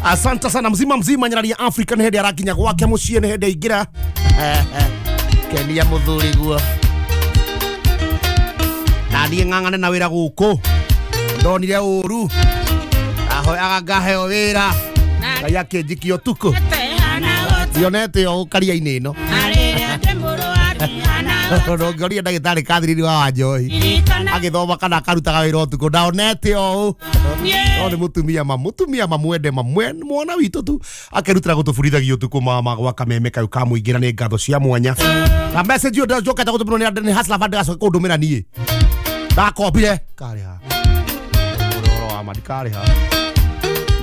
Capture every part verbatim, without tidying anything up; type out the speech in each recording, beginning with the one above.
Asante sana mzima mzima nyarari ya Africa nĩ hĩndĩ arakinya gwake mũciĩ nĩ hĩndĩ aingĩra. Kenia mũthuri guo. Na niĩ ng'ang'ane na wĩra gũkũ. Ndonire ũru. Ahoyaga ngaheo wĩra. Ngai akĩnjikia ũtukũ. Ndionete o karia-inĩ ĩno. Ndũngĩoria ndagĩtarĩ Catherine wa Wanjohi agĩthoma kana akarutaga wĩra ũtukũ ndaonete o ũũ. No nĩ mũtumia ma mũtumia mamwende mamwe mwana witũ tu akĩrutĩra gũtũburithagia ũtukũ mama gwa kameme kau kamũingĩra nĩ ngatho cia mwanya. Na message ĩyo njokete gũtũmĩrwo nĩ nĩ Hustler Fund gacoka kũndũmĩra niĩ. Ndakombire karĩha. Ũhoro wa ma ndikarĩha.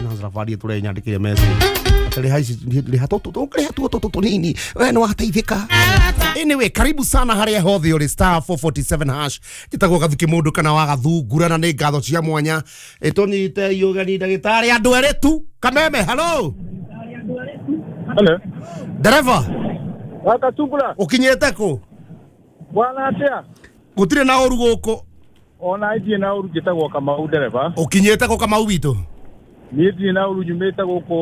Nĩ Hustler Fund ĩtũre nyandĩkĩre message. Riha riha toto riha toto toto nini we no wateithika. Anyway, karibu sana haria hothe uri star four forty-seven hash njitagwo Gathuki mundu kana wa Gathungura na nĩ ngatho cia mwanya ĩtũnyite ũgeni ndagĩtarĩ andũ erĩ tu Kameme. Hello hello dereva wa Gathungura ukinyĩte kũ bwana atia gũtirĩ na ũru gũkũ ona ithiĩ na ũru njĩtagwo Kamau dereva ũkinyĩte kũ Kamau witũ niĩ ndirĩ na ũru nyumĩte gũkũ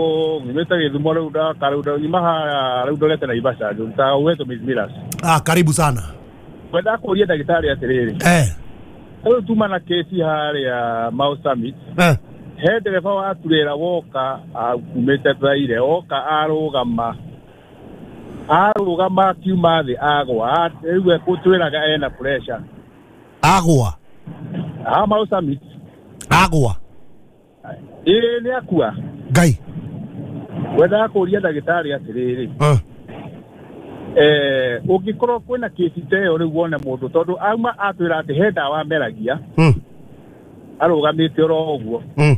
nyumĩte Gĩthumo rĩu ndaka rĩu nyuma haha rĩu ndorete Naivasha ndutaga Uwezo Maize Millers. Ah, karibu sana. Kwenda kũria ndagĩtarĩ atĩrĩrĩ eh rĩu tuma na kesi harĩa Mau Summit eh he ndereba wa turera woka akumĩte Thaire oka arũgama arũgama akiuma thĩ agwa rĩu ekũtwĩraga ena pressure agwa ah Mau Summit agwa ĩĩ nĩ akua Ngai wendaga kũria ndagĩtarĩ atĩrĩrĩ eh eh ũngĩkorwo kwĩna kesi ta ĩyo rĩu wone mũndũ tondũ auma atwĩra atĩ he ndawa ameragia mm arũgamĩte oro ũguo mm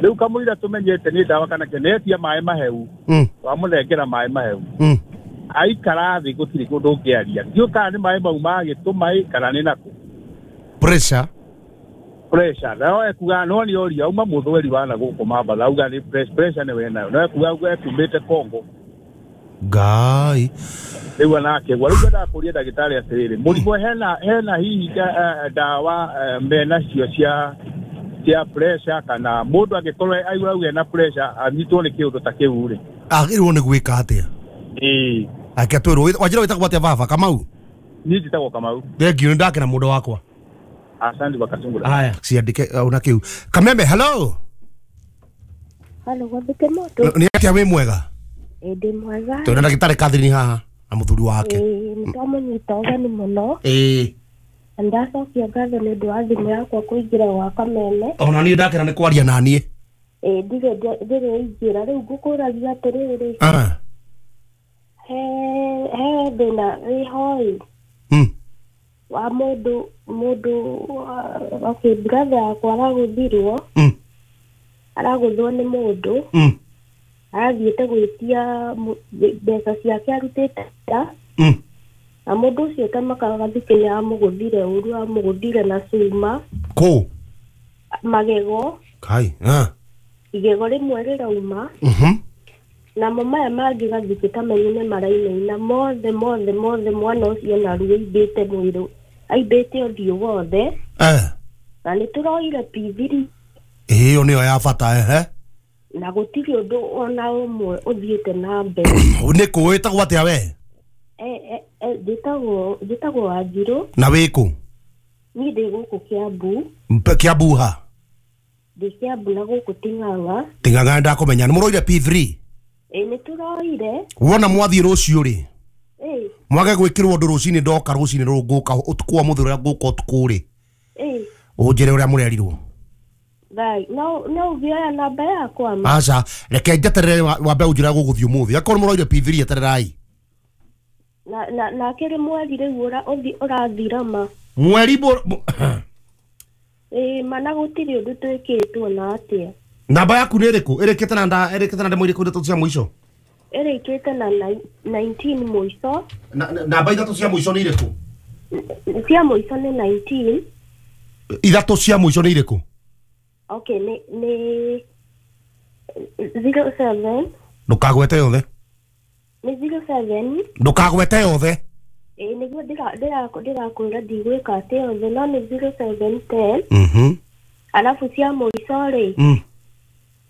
rĩu kamũira tũmenyete nĩ ndawa kana kenetia maĩ maheu mm wamũnengera maĩ maheu mm aikara thĩ gũtirĩ kũndũ ũngĩaria ndiũ kana nĩ maĩ mau magĩtũma kana nĩ nakũ pressure pressure no ekuga no ni oria uma muthweri wana guku Mambatha auga ni pressure ni wenayo no ekuga ekumite Kongo Ngai riu anake gwa riu ndakũria ndagĩtarĩ atĩrĩrĩ mũrimũ hena hena hihi ndawa mena cio cia cia pressure kana mũndũ angĩkorwo aigua auge na pressure anyitwo nĩ kĩũndũ ta kĩu rĩ agĩrĩirwo nĩ gwĩka atĩa ĩĩ ake twĩrwo wanjĩra wĩtagwo atĩa baba Kamau niĩ njĩtagwo Kamau thengiũ nĩ ndakena mũndũ wakwa. Asante Wakasungura. Haya, siandike una kiu. Kameme, hello. Hello, Gathuki mũndũ. Ni atia wĩ mwega? Ĩ ndĩ mwega. Twĩna ndagĩtarĩ Catherine haha na mũthuri wake. Ĩ nĩtwamũnyita ũgeni mũno. Ĩ. Na ndacokia ngatho nĩ ũndũ wa thimũ yakwa kũingĩra gwa Kameme. Ona niĩ ndakena nĩ kwaria na niĩ. Ĩ ndirĩ ndirĩ ingĩra rĩu ngũkũragia atĩrĩrĩ. Ah. He he thĩna wĩho ĩ. Mm. Wa mũndũ mũndũ okay brother yakwa aragũthirwo mm. aragũthwo nĩ mũndũ mm. arathiĩte gwĩtia mbeca ciake arutĩte nda mm. na mũndũ ũcio tamakaga Gathukĩ nĩ amũgũthire ũru amũgũthire na cuma kũ magego kai ah igego rĩmwe rĩrauma mhm namo maya mangĩ Gathukĩ ta menye nĩ marainaina mothe mothe mothe mwana ũcio na ruo aimbĩte mwĩrĩ aimbĩte ũthiũ wothe eh na nĩ tũroire P three ĩyo nĩyo ya bata ehe na gũtirĩ ũndũ ona ũmwe ũthiĩte na mbere nĩ kũ wĩtagwo atĩa we eh eh njĩtagwo njĩtagwo Wanjirũ na wĩkũ niĩ ndĩ gũkũ Kiambu Kiambu ha ndĩ Kiambu na gũkũ Ting'ang'a Ting'ang'a ndakũmenya nĩ mũroire P three ĩ nĩ tũroire wona mwathiĩ rũciũ rĩ ĩ mwage gwĩkĩrwo ũndũ rũcinĩ ndoka rũcinĩ rũrũ ngũka ũtukũ wa mũthĩ ũrĩa ngũka ũtukũ rĩ ĩ ũnjĩre ũrĩa mũrerirwo Ngai no no ũngĩoya namba yakwa ma aca reke njeterere wambe ũnjĩre gũgũthiĩ ũmũthĩ akorwo mũroire P three etererai na na na kĩrĩ mweri rĩu ũra ũrathira ma mweri ĩ mana gũtirĩ ũndũ twĩkĩtwo na atĩa namba yaku nĩ ĩrĩkũ ĩrĩkĩte na nda ĩrĩkĩte na ndemwa irĩkũ ithatũ cia mũico ĩrĩkĩte na nineteen mũico namba ithatũ cia mũico nĩ irĩkũ cia mũico nĩ nineteen ithatũ cia mũico nĩ irĩkũ okay nĩ nĩ zero seven ndũkagwete yothe nĩ zero seven ndũkagwete yothe ĩ nĩguo ndĩrakwĩra ndigwĩka atĩ yothe no nĩ zero seven ten mhm alafu cia mũico rĩ mm.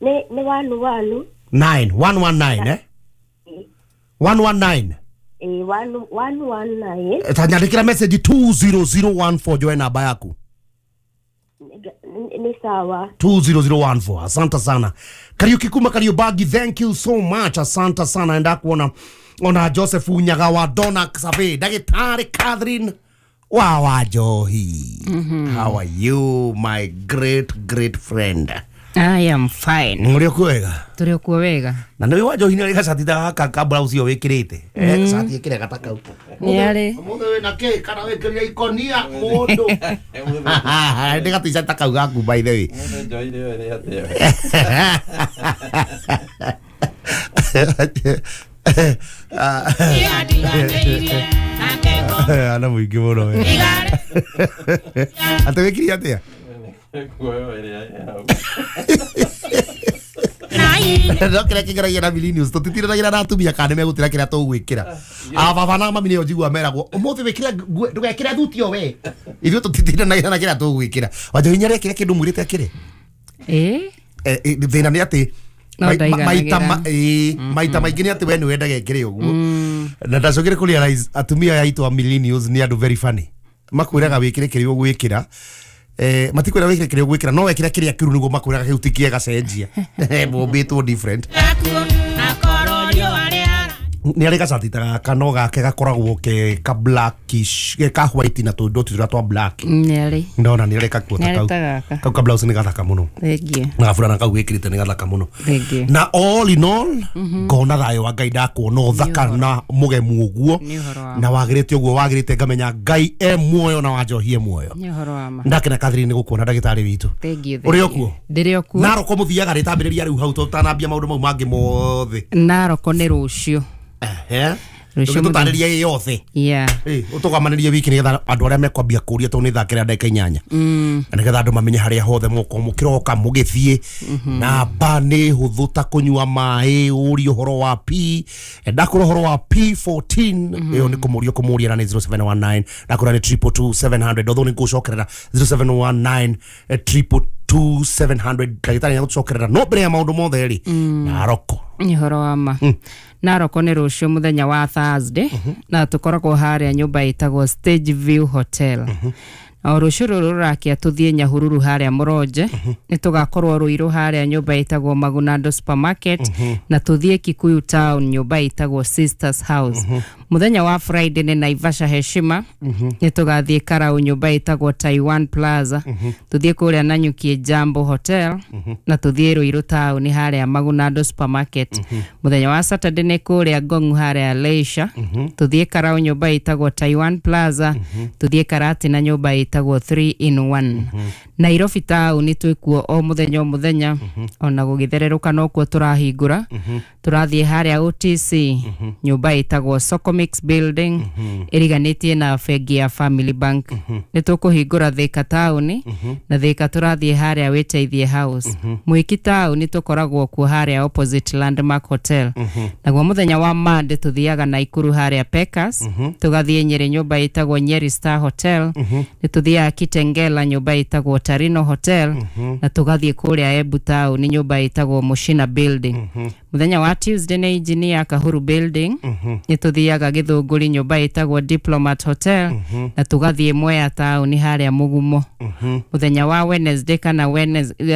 Nĩ nĩ wanu wanu. nine one one nine eh one one nine Eh, one one one nine. Tanyandĩkĩra message two zero zero one four joe namba yaku. Nĩ nĩ sawa. two zero zero one four. Asante sana Kariuki kuma Kariubangi, thank you so much, asante sana. Enda kuona ona Joseph Unyaga wa Dona Survey, Daktari Catherine wa Wanjohi. How are you my great great friend? I am fine. Mũrĩ okuo wega? Tũrĩ okuo wega. Na nĩ Wanjohi nĩ arĩ gacati ta gaka ka blouse ĩyo wĩkĩrĩte. Eh, cati ĩkĩre gata kau. Nĩ arĩ. Mũthĩ wĩna kĩ kana wĩkĩrire ikonia mũndũ. Nĩ gati-cati ta kau gaku by the way. Ana mũingĩ mũno we. Atĩ wĩkĩrire atĩa? No kĩrĩa kĩngeragia na millennials tũtitindanagĩra na atumia kana nĩmegũtĩra kĩrĩa tũgwĩkĩra. Ababa na mami nĩo njigua meragwo ũmũthĩ wĩkĩre nguo ndũgekĩre thuti o we. Ithuĩ tũtitindanagĩra na kĩrĩa tũgwĩkĩra. Wanjohi nĩarekĩra kĩndũ mwĩrĩte akĩre? Ĩĩ. Thĩna nĩ atĩ maita maita maingĩ nĩ atĩ we nĩ wendaga ekĩre ũguo. Na ndacokire kũ realize atumia aya aitũ a millennials nĩ andũ very funny. Makwĩraga wĩkĩre kĩrĩa ũgwĩkĩra. Eh, matikwĩra wĩkĩre kĩrĩa ũgwĩkĩra no wekĩra kĩrĩa kĩru nĩguo makwĩraga kĩu ti kĩega cenjia. Mombĩtwo different. Nĩ arĩ gacati ta gaka no gake gakoragwo ke ka blackish ke ka white na tũndoti tũrĩa twa black. Nĩ arĩ. Ndona nĩ arĩ kakuo ta kau. Kau ka blouse nĩ gathaka mũno. Thengiũ. Na gaburana kau wĩkĩrĩte nĩ gathaka mũno. Thengiũ. Na all in all ngona thayũ wa Ngai ndakuona ũthaka na mũgemu ũguo na wagĩrĩte ũguo wagĩrĩte ngamenya Ngai e muoyo na Wanjohi e muoyo. Nĩ ũhoro wa ma. Ndakena Catherine nĩ gũkuona ndagĩtarĩ witũ. Thengiũ. Ũrĩ okuo? Ndĩrĩ okuo. Naroko mũthiaga rĩtambĩrĩria rĩu hau tũtanambia maũndũ mau mangĩ mothe. Naroko nĩ rũciũ. Eh, tũtarĩrie ĩ yothe. Yeah. Eh, ũtũgamanĩrie wiki nĩgetha andũ arĩa mekwambia kũria tondũ nĩ thaa kĩrĩa ndagĩka inyanya. Na nĩgetha andũ mamenye harĩa hothe mũgũkorwo mũkĩroka mũgĩthiĩ. Namba nĩ hũthũ ta kũnyua maĩ, ũrie ũhoro wa P. Ndakũra ũhoro wa P fourteen, ĩyo nĩ kũmũria kũmũria na nĩ zero seven one nine. Ndakũra nĩ triple two seven hundred. Although nĩ ngũcokerera zero seven one nine triple two seven hundred. Ndagĩtarĩ nĩegũtũcokerera no mbere ya maũndũ mothe rĩ, Naroko. Nĩ ũhoro wa ma. Naroko nĩ rũciũ mũthenya wa Thursday na tũkoragwo harĩa nyũmba ĩtagwo Stage View Hotel. O rũciũ rũrũ rũrakia tũthiĩ Nyahururu harĩa Mũronje, nĩ tũgakorwo Ruiru harĩa nyũmba ĩtagwo Magunando Supermarket na tũthiĩ Kikuyu Town nyũmba ĩtagwo Sisters House. Mũthenya wa Friday nĩ Naivasha Heshima, nĩ tũgathiĩ Karau nyũmba ĩtagwo Taiwan Plaza, tũthiĩ kũrĩa Nanyuki Jambo Hotel na tũthiĩ Ruiru Town harĩa Magunando Supermarket. Mũthenya wa Saturday nĩ kũrĩa Ngong'u harĩa Leisure, tũthiĩ Karau nyũmba ĩtagwo Taiwan Plaza, tũthiĩ Karatina nyũmba ĩtagwo three in one. Nairobi town twĩkuo o mũthenya o mũthenya ona gũgĩthererũka nokuo tũrahingũra. Tũrathiĩ harĩa O T C nyũmba ĩtagwo Socomix Building ĩriganĩtie na bengi ya Family Bank. Nĩ tũkũhingũra Thika town na Thika tũrathiĩ harĩa Wĩteithie House. Mwiki town tũkoragwo kuo harĩa opposite Landmark Hotel. Naguo mũthenya wa Monday tũthiaga Naikuru harĩa Pekas, tũgathiĩ Nyeri nyũmba ĩtagwo Nyeri Star Hotel, nĩ tũthiaga Kitengela nyũmba ĩtagwo Tarino Hotel na tũgathiĩ kũrĩa Embu town nyũmba ĩtagwo Mushina Building. Mũthenya wa Tuesday nĩ Engineer Kahuru Building, nĩ tũthiaga Gĩthũngũri nyũmba ĩtagwo Diplomat Hotel na tũgathiĩ Mwea town harĩa Mũgumo. Mũthenya wa Wednesday kana Wednesday